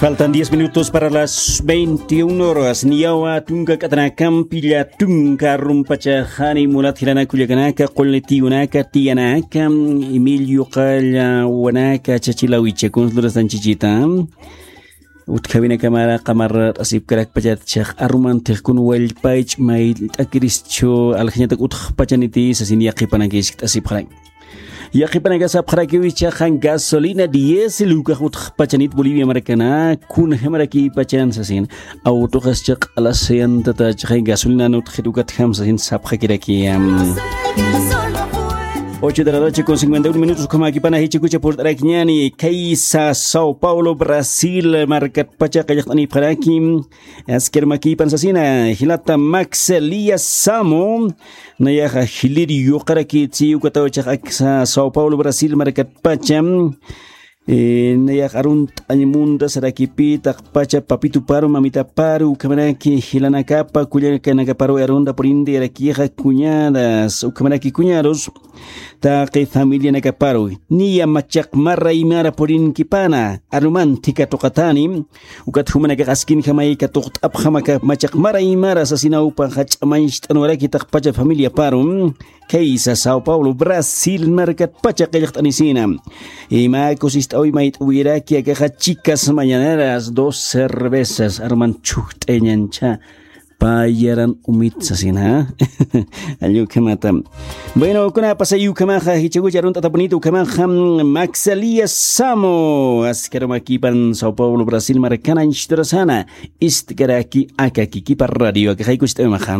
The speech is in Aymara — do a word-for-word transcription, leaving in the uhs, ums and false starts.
Faltan diez minutos para las veintiuna horas. Niyawa tunka k'atanakampi llatunka rumpachaxani mulat jilanaka kullakanaka, qullitiyunaka, tiyanaka, Emilio qallawanaka, chachilawicha, kunslurastanchichita. Utjawinakamara qamarra t'asipkarakpachat chax arumantix kun wallpaych may t'akirischu aljañatak utjpachaniti sasin yaqipanakisk t'asipxarak. Yaqipanakasapxarakiw ichaxa gasolina diésel ukax utxpachanit Bolivia markana, kunjamarakipachan sasin. Awtuxascha q'alasayantatachxay gasolina utxit ukatjam sasin sapxakirakiya. Ocho de la noche con cincuenta y uno minutos ukhamakipana jichikucha purt'arakiñani kaysa Sao Paulo, Brasil markatpacha qillqt'anipxaraki. Askir makipan sasina jilata Max Elías Samo. Nayaxa jiliri yuqarakitsi ukataw chax aksa Sao Paulo, Brasil markatpacha. Nayax arunt'añmunta sarakipitaqpacha papituparu mamitaparu ukhamaraki jilanakapa kullakanakaparu arunta purintiyarakixa kuñadas ukhamaraki kuñarus. Taqi familianakaparu niya machaq mara imara purinkipana arumanti katuqatani. Ukat jumanakax askinjamay katuqt'apxamaka machaq mara imara sasinawpaxa ch'amañcht'anwaraki taqpacha familiaparu. Kaysa Sao Paulo, Brasil markatpacha qillqt'anisina. Ima kusist'awi mayt'awiraki akaxa chicas mañaneras dos cervezas arman chhujt'ayañancha. Payaran umit sasina. Allukhamata. Bueno, kuna pasay ukhamaxa jichakucha arunt'atapunita ukhamaxa Maxalia Samo askarumakipan Sao Paulo, Brasil markana inchiturasana. Istkaraki akakikipa radio akaxaykucht'awimaxa.